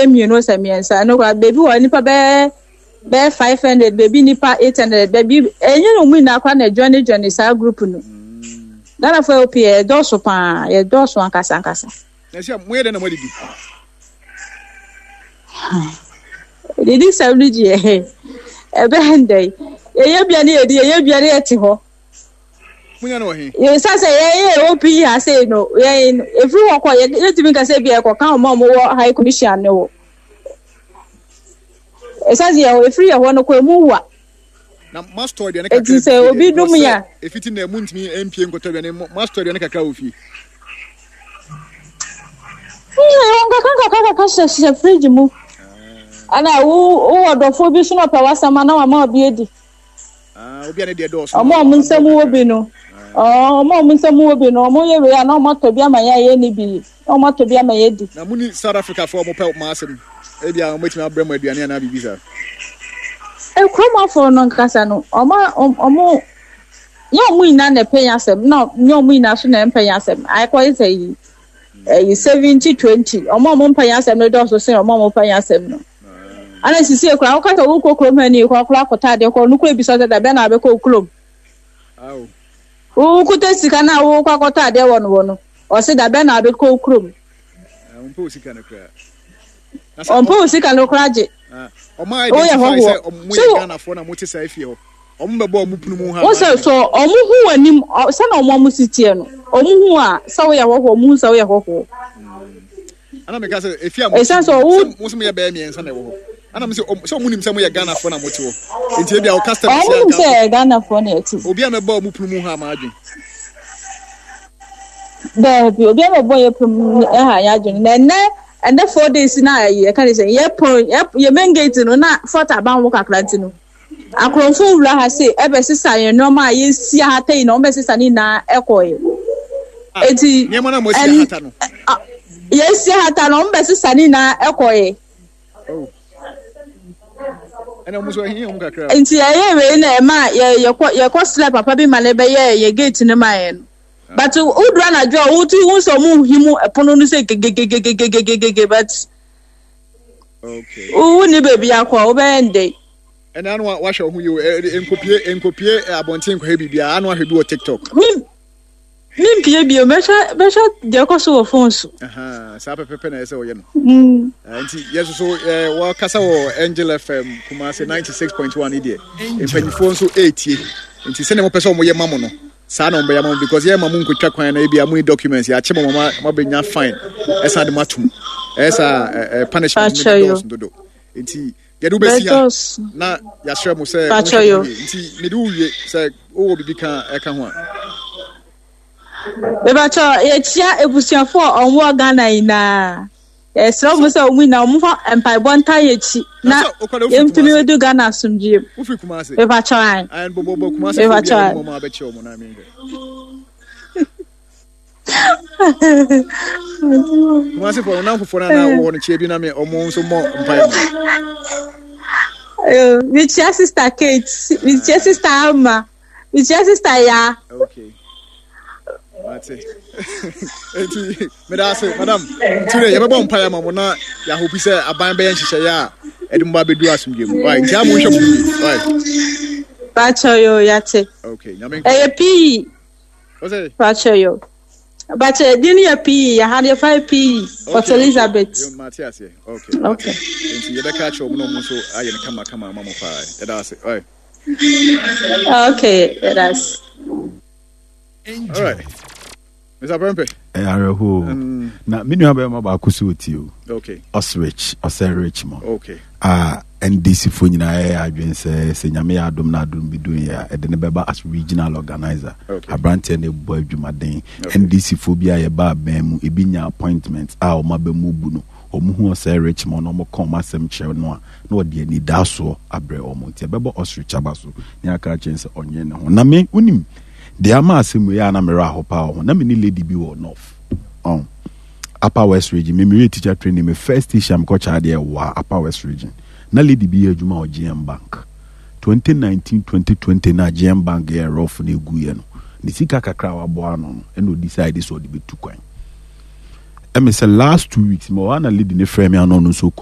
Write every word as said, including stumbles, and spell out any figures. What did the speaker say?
mmienu sɛ mmiɛnsa. Ɛno koraa, beebi wɔ nipa bɛyɛ bɛyɛ five hundred, beebi nipa eight hundred, beebi ɛnyɛ na ɔmo nyinaa koraa na ɛjoin join saa group no. Ghanafoɔ yɛ pii, yɛdɔɔso paa, yɛdɔɔso ankasa ankasa. Na sɛ moyɛ dɛn na moadidi? Didi sɛm no gyeɛ ɛbɛn dɛ yɛyɛ bia ne yɛdi, yɛyɛ bia ne yɛte hɔ. Monya no wɔ he? Yɛsa sɛ yɛyɛ O P ha sei no, yɛn ɛfiri hɔ kɔ, yɛtumi nka sɛ bia yɛkɔka ɔma a ɔmowɔ High Commission ne wɔ ɛsa sɛ yɛ ɛfiri yɛ hɔ no kɔ emu wa. Na moastɔ aduane kakra? Eti sɛ obi dom yɛ a, ɛfiti na montumi mpie nkɔtɔ aduane, moastɔ aduane kakra wɔ fie? Yɛwɔ nkakra nkakra kakra hyehyɛ fridge mu, ana wo wowɔ dɔfoɔ bi so na ɔpɛ w'asɛm a, na wama obi adi. Ah, obi a ne deɛ dɔɔso. Ɔmo a ɔmo nsɛm wɔ bi no, ɔmo a ɔmo nsɛm wɔ bi no, ɔmo yɛ wei a, na ɔmo atɔ bi ama yɛn a yɛnni bi, na ɔmo atɔ bi ama yɛn di. Na mo ni South Africa foɔ a ɔmo pɛ mo asɛm, ebi a ɔmo atumi abrɛ mo aduane anaa biribi saa? Ekurom afɔ no nkasa no, ɔmo ɔmo nyɛ ɔmo nyinaa na ɛpɛ yɛn asɛm, na nyɛ ɔmo nyinaa so na ɛmpɛ yɛn asɛm. Akɔyɛ sɛ yi ɛyi seventy twenty, ɔmo a ɔmo mpɛ yɛn asɛm no dɔɔso sen ɔmo a ɔmo pɛ yɛn asɛm no. Ana sisi ekura wokasa wokɔ kurom ha ni kɔ akora akɔtɔ adeɛ kɔ no kura ebisa sɛ dabɛn na abɛkɔ kurom? Awo. Wokuta sika na wokɔ akɔtɔ adeɛ wɔ no wɔ no ɔsi dabɛn na abɛkɔ kurom? Ɔmpɛ wo sika no koraa. Ɔmpɛ wo sika no koraa gye. Ɔmo identify sɛ ɔmo yɛ Ghanafoɔ na mo te saa efie hɔ, ɔmo bɛbɔ ɔmo pono mu ha? Wo sɛ so ɔmo hu w'anim sɛna ɔmo ɔmo si teɛ no, ɔmo hu a sɛ woyɛ hɔhoɔ, ɔmo hu sɛ woyɛ hɔhoɔ. Ana meka sɛ efi a mo ɛsiane sɛ ɔwo mo sɛ mo yɛ bɛyɛ mmiɛnsa na ɛwɔ hɔ, ana mo sɛ sɛ ɔmo nim sɛ mo yɛ Ghanafoɔ na mo te hɔ, nti ebi a ɔka customers ɔmo nim sɛ yɛ Ghanafoɔ na ɛte. Obi a mɛbɔ ɔmo pono mu ha ama adwene. Daabi, obi a mɛbɔ yɛ pono mu ɛha yɛ adwene. Na ɛnɛ ɛnɛ four days na ɛyɛ yɛka ne sɛ yɛ pɔn yɛ yɛ main gate no na fort aban ho kakra, nti no akorɔmfo wura ha se ɛbɛsesa yɛn nneɛma a yɛsi ahata yi na wɔn bɛsesa ne nyinaa ɛkɔɛ. Eti nneɛma na mo asi ahata no? Yɛsi ahata no, wɔn bɛsesa ne nyinaa ɛkɔɛ. Oh, ɛna ɔmo nso ɛhin ɔmo kakra. Nti ɛyɛ wei na ɛma yɛ yɛkɔ yɛkɔ srɛ papa bi ma ne bɛyɛ yɛ gate no ma yɛn no, but woduru anadwo a, wotu hu sɛ ɔmo hi mu ɛpono no sɛ gegegegegegege, but okay wo ni baabi akɔ a wobɛyɛ ndɛ. Ɛna ano wahwɛ ɔho yi o, nkopie nkopie abɔnten nkɔhɛ biribiara, ano ahwɛ bi wɔ TikTok. Mi mi mpie bio, mɛhwɛ mɛhwɛ deɛ ɛkɔ so wɔ phone so. Saa pɛpɛpɛ na ɛsɛ ɔyɛ no. Nti yɛ soso wɔkasa wɔ Angel F M Kumase ninety six point one deɛ, mpanyinfoɔ nso ɛretie, nti sɛnea mopɛ sɛ ɔmo yɛ ma mo no, saa na ɔmo bɛyɛ ma mo, because yɛ ma mo nkotwa kwan na ebi a mo ni documents yɛakye mo ma mo abɛnya fine, ɛsan de mo atum, ɛyɛ saa ɛɛ punishment ne dɔɔso dodo, nti yɛde wobɛsi ha na yɛahyerɛ mo sɛ monhwɛ mo yie. Nti mede wo wie sɛ wowɔ biribi ka ɛka ho a. Mebakyɛ yɛkyia abusuafoɔ a ɔmo wɔ Ghana nyinaa. Yɛsrɛ ɔmo sɛ ɔmo nyinaa ɔmo fa mpaebɔ nta yɛ akyi na yɛntumi bɛdu Ghana asomdwie mu. Wofiri Kumase? Mebakyɛ an. Bɔbɔbɔ Kumase. Mebakyɛ an. Ɔmo abɛkyɛ ɔmo na mehwɛ Kumase fɔ ɔnam fofoɔ no anaa wɔ hɔ no, kyia bi na me ɔmo nso mmɔ mpaeɛ ma. Mekyia Sister Kate, mekyia Sister Ama, mekyia Sister Ya. Okay, mate. Enti meda ase, madam. Nti dɛ yɛbɛbɔ mpaeɛ ama mo na yɛahopi sɛ aban bɛyɛ nhyehyɛeɛ a ɛde mo ba bɛdu asomdwe mu. Right, nti a monhwɛ mo yie. Right. Bakyɛ yo, yate. Okay, Nyame nka. Ɛyɛ pii. Ɔsɛ? Bakyɛ yo. Bakyɛ din yɛ pii, yɛha deɛ fa yɛ pii. Port Elizabeth. Mate aseɛ. Okay. Okay. Nti yɛbɛka akyerɛ ɔmo na ɔmo nso ayɛ no kama kama ama mo paa. Yɛda ase. Right. Okay, that's. All right. Mister Prempe. Ɛyɛ awerɛhoɔ na me nua bɛrima baako so ɔtie o. Okay. Ɔsrich, ɔsɛ Richmond. Okay. A N D C foɔ nyinaa yɛyɛ adwene sɛ sɛ Nyame yɛ adom na adom bi dom yɛ a, ɛde ne bɛba as regional organizer. Okay. Aberanteɛ no bɔ adwumaden. Okay. N D C foɔ bi a yɛba abɛn mu ebi nya appointment a ɔmo aba mu bu no, ɔmo hu ɔsɛ Richmond na ɔmo ka ɔmo asɛm kyerɛ no a, na ɔde anidaasoɔ abrɛ ɔmo, nti ɛbɛbɔ ostrich aba so ne aka akyerɛ sɛ ɔnyɛ ne ho. Na me wonim deɛ ama asɛm wei a na merɛ aho paa wɔ ho, na me ne lady bi wɔ north ɔn Upper West Region. Me mewie teacher training, me first station mekɔ kyaa deɛ wɔ Upper West Region, na lady bi yɛ adwuma wɔ G M Bank. twenty nineteen twenty twenty na G M Bank yɛ rough na egu yɛ no, ne sika kakra a waboa ano no, ɛna ɔdecide sɛ ɔde bɛtu kwan. Ɛmi sɛ last two weeks ma ɔha na lady ne frɛ me ano, ɔno nso